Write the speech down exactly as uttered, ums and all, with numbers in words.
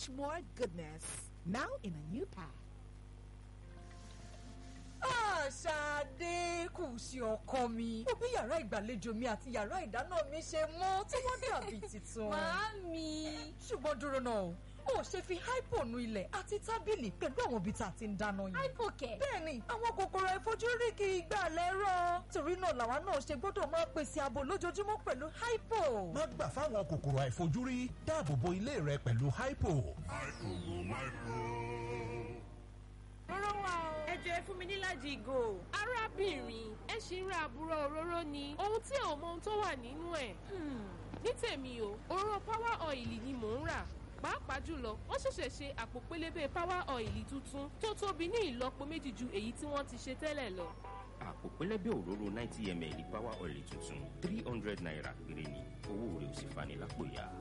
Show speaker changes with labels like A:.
A: much more goodness. Now in a new pack.
B: Ṣadé kù sí ọkọ mi. Ó bí yàrá ìgbàlejò mi àti yàrá ìdáná mi ṣe mọ́ tí wọ́n dàbí tuntun.
C: Màámi.
B: Ṣùgbọ́n dúró náà, ó ṣe fi hypo nu ilẹ̀ àti tábìlì pẹ̀lú àwọn ibi tá a ti ń dáná yìí.
C: Hypo kẹ̀.
B: Bẹ́ẹ̀ni, àwọn kòkòrò àìfojúrí kì í gbà lẹ́rọ̀. Torí náà làwa náà ṣe gbọ́dọ̀ máa pèsè ààbò lójoojúmọ́ pẹ̀lú hypo.
D: Má gbà fáwọn kòkòrò àìfojúrí, dáàbò bo ilé rẹ pẹ̀lú hypo.
E: Òróró wà o.
F: Ẹ jọ̀ọ́, ẹ fún mi níláàjì ìgò.
E: Arábìnrin, ẹ ṣì ń ra àbúrò òróró ni. Ohun tí ò mọ ohun tó wà nínú ẹ̀. Ní tèmi o, òróró Power Oil ni mò ń rà. Pàápàá jùlọ, wọ́n ṣẹ̀ṣẹ̀ ṣe àpò pélébé Power Oil tuntun tó tóbi ní ìlọ́po méjì ju èyí tí wọ́n ti ṣe tẹ́lẹ̀ lọ.
G: Àpò pẹlẹbẹ òróró ninety ml Power Oil tuntun, three hundred naira péré ni. Owó rẹ̀ ò sì fani lápò ya.